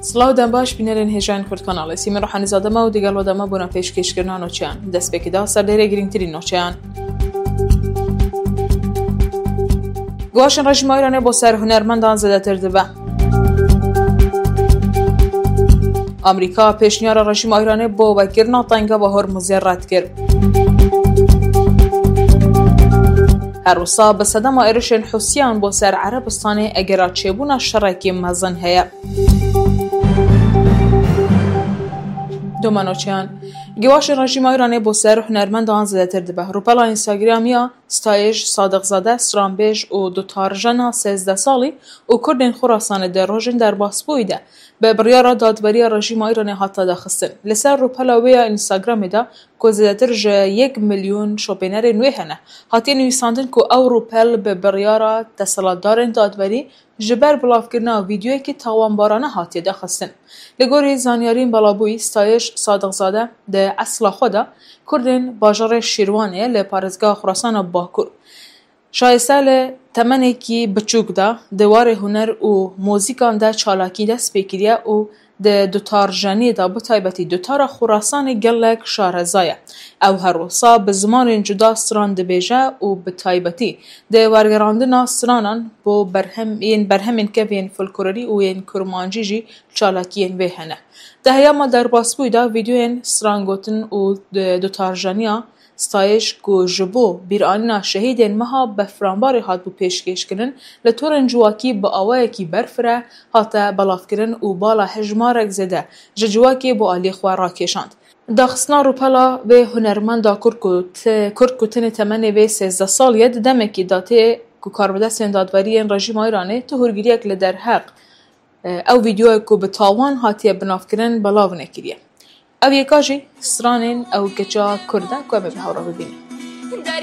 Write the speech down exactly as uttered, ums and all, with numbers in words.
Silav dem baş, bînerên hêjayên Kurd Kanalê. Sîmin Ruhanîzade me û digel we de me bona pêşkêşkirina noçeyan. Destpêkê de serdêrê girîngtirîn noçeyan. Guaşên rejîma Îranê bo ser hunermendan zêdetir dibe. Amerîka pêşniyara rejîma Îranê bo vekirina tengava Hormuzê red kir. Her wisa bi sedema êrişên Hûsiyan bo ser Erebistanê egera çêbûna şerekî mezin heye. Domanoçeyan. Giwaşên rejîma Îranê bo ser hunermendan zêdetir dibe. Rûpela Instagramî ya Stayij Sadiqzade, stranbêj û dutarjena sêzdeh salî û Kurdên Xurasanê di rojên derbasbûyî de bi biryara dadweriya rejîma Îranê hate daxistin. Li ser rûpela wê ya Instagramê de ku zêdetir ji yek milyon şopênerên wê hene, hatiye nivîsandin ku ew rûpel bi biryara desthilatdarên dadwerî ji ber bilavkirina vîdeoyekî tawanbarane hatiye daxistin. Li gorî zanyariyên belabûyî, Stayij Sadiqzade di esla xwe de Kurdên bajarê Şîrwanê ye li parêzgeha Xurasana Bakur. Şayeste li temenekî biçûk de di warê huner û muzîkan de çalakî dest pê kiriye û di dutarjeniyê de bi taybetî dutara Xurasanê gelek şareza ye. Ew her wisa bi zimanên cuda stran dibêje û bi taybetî di wergerandina stranan bo berhem, yên berhemên kevên folklorî û yên kurmancî jî çalakiyên wê hene. Di heyama derbasbûyî de vîdeoyên strangotin û di-, dutarjeniya Stayij ku ji bo bîranîna şehîdên meha Befranbarê hatibû pêşkêşkirin, li torên civakî bi awayekî berfireh hate belavkirin û bala hejmarek zêde ji civakê bo aliyê xwe rakêşand. Daxistina rûpela vê hunermenda Kurd ku ti-, Kurd ku tenê temenê vê sêzdeh salî ye, di demekî de tê ku karbidestên dadwerî yên rejîma Îranê tu hûrgiliyek li derheq, e, ew vîdeoyek ku bi tawan hatiye binavkirin belav nekiriye. Ev yeka jî stranên ew keça Kurd e ku em ê bi hev re bibînin.